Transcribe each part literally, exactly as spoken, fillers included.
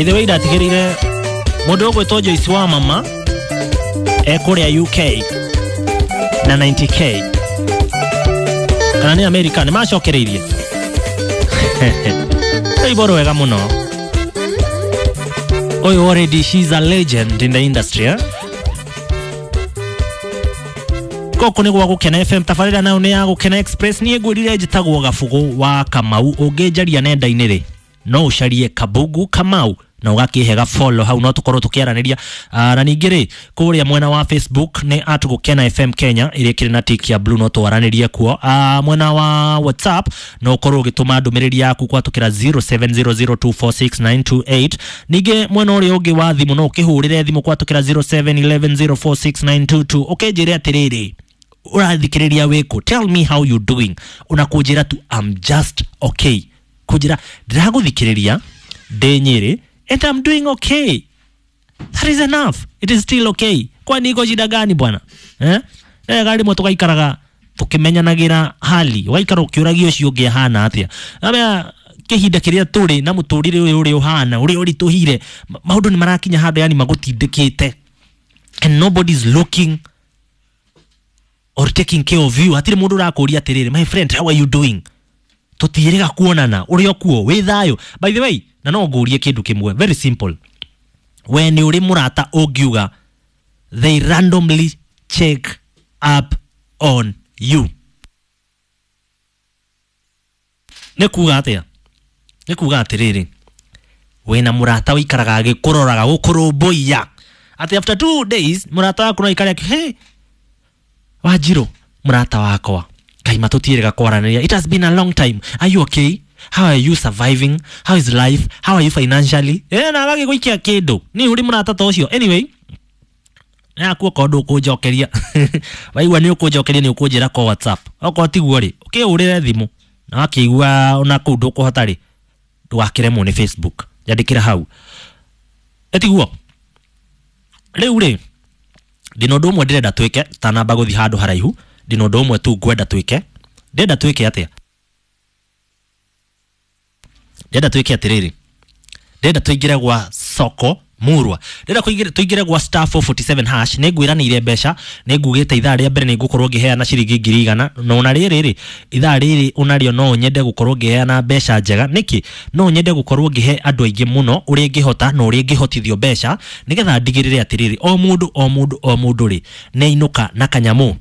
By the way, ndatigĩrĩire mũndũ ũgwĩtwo Joyce wa mama ekũrĩa U K na ninety K kana nĩ America nĩ macokereirie. Rwĩmbo rwega mũno. Ũyũ already she's a legend in the industry, eh? Gũkũ nĩ gwa Gũkena F M, tabarĩra nayo nĩ ya Gũkena Express. Niĩ ngwĩrire njĩtagwo Gabugu wa Kamau. Ũngĩnjaria nenda-inĩ rĩ, no ũcarie Kabugu Kamau na ũgakĩhe follow hau, no tũkorwo tũkĩaranĩria. Na ningĩ rĩ, kũrĩa mwena wa Facebook nĩ at Gũkena F M Kenya ĩrĩa ĩkĩrĩ na tick ya blue, no twaranĩrie kuo. Mwena wa WhatsApp no ũkorwo ũgĩtũma ndũmĩrĩri yaku gwatũkĩra zero seven zero zero two four six nine two eight. Ningĩ mwena ũrĩa ũngĩ wa thimũ no ũkĩhũrĩre thimũ gwatũkĩra zero seven eleven zero four six nine two two. Ũkĩnjĩre atĩrĩrĩ, ũrathikĩrĩria wĩkũ? Tell me how you doing. Unakũnjĩra tu I'm just okay. Kũnjĩra ndĩragũthikĩrĩria ndĩ Nyĩrĩ and I'm doing okay. That is enough. It is still okay. Kwani iko shida gani bwana? Eh? Eh, gari mwe tugaikaraga tukimenyanagira hali. Ugaikara ukiũragia ũcio ũngĩ ahana atĩa. Amea kĩhinda kĩrĩa tũrĩ na mũtũrĩre ũyũ ũrĩa ũhana, ũrĩa ũritũhire, maũndũ nĩ marakinya handũ yani magũtindĩkĩte. And nobody's looking or taking care of you. Hatirĩ mũndũ ũrakũria atĩrĩrĩ, my friend, how are you doing? Tũtiĩrĩga kuonana, ũrĩ o kuo, wĩ thayũ. By the way, na no ngũrie kĩndũ kĩmwe, very simple. We nĩ ũrĩ mũrata ũngiuga they randomly check up on you. Nĩ kuga atĩa? Nĩ kuga atĩrĩrĩ, wĩna mũrata ũikaraga agĩkũroraga, gũkũrũmbũiya. Atĩ after two days mũrata waku no aikare akĩ, hey, Wanjirũ, mũrata wakwa, Ngai matũtiĩrĩga kwaranĩria. It has been a long time. Are you okay? How are you surviving? How is life? How are you financially? Eh, na agagĩgũikia kĩndũ. Nĩ ũrĩ mũrata ta ũcio. Anyway, naku okorwo ndũkũnjokeria. Waigua nĩ ũkũnjokeria nĩ ũkũnjĩra kwa WhatsApp. Okorwo tiguo rĩ, ũkĩhũrĩre thimũ. Na wakĩigua ona kũu ndũkũhota rĩ, ndũgakĩremwo nĩ Facebook. Nyandĩkĩra hau. Ĩtiguo. Rĩu rĩ, ndĩna ũndũ ũmwe ndĩrenda twĩke, tanamba gũthiĩ handũ haraihu. Ndĩna ũndũ ũmwe tu ngwenda twĩke. Ndĩrenda twĩke atĩa? Ndĩrenda twĩke atĩrĩrĩ. Ndĩrenda tũingĩre gwa soko murwa. Ndĩrenda kũingĩra, tũingĩre gwa star four forty seven hash. Nĩ ngwĩranĩire mbeca, nĩ ngugĩte ithaa rĩa mbere nĩ ngũkorwo ngĩheana ciringi ngiri igana. Na ona rĩrĩ rĩ, ithaa rĩrĩ onarĩo no nyende gũkorwo ngĩheana mbeca njega. Nĩkĩ? No nyende gũkorwo ngĩhe andũ aingĩ mũno ũrĩa ingĩhota na ũrĩa ingĩhotithio mbeca, nĩgetha ndigĩrĩre atĩrĩrĩ, o mũndũ, o mũndũ, o mũndũ rĩ, nĩ ainũka na kanyamũ.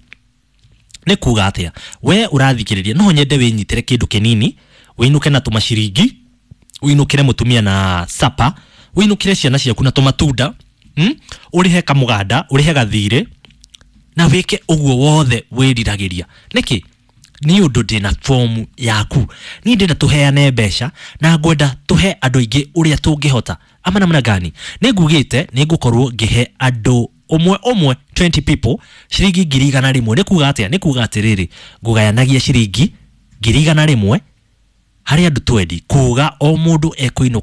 Nĩ kuga atĩa? We ũrathikĩrĩria, no nyende wĩnyitĩre kĩndũ kĩnini, wĩinũke na tũmaciringi, wĩinũkĩre mũtumia na sapa, wĩinũkĩre ciana ciaku na tũmatunda, hmm? Ũrĩhe kamũganda, ũrĩhe gathirĩ, na wĩke ũguo wothe wĩriragĩria. Nĩkĩ? Nĩ ũndũ ndĩna fomu yaku. Niĩ ndĩrenda tũheane mbeca na ngwenda tũhe andũ aingĩ ũrĩa tũngĩhota. Ama namna gani? Nĩ ngugĩte nĩ ngũkorwo ngĩhe andũ ũmwe ũmwe twenty people ciringi ngiri igana rĩmwe. Nĩ kuga atĩa? Nĩ kuga atĩrĩrĩ, ngũgayanagia ciringi ngiri igana rĩmwe harĩ andũ twendi, kuga o mũndũ ekũinũka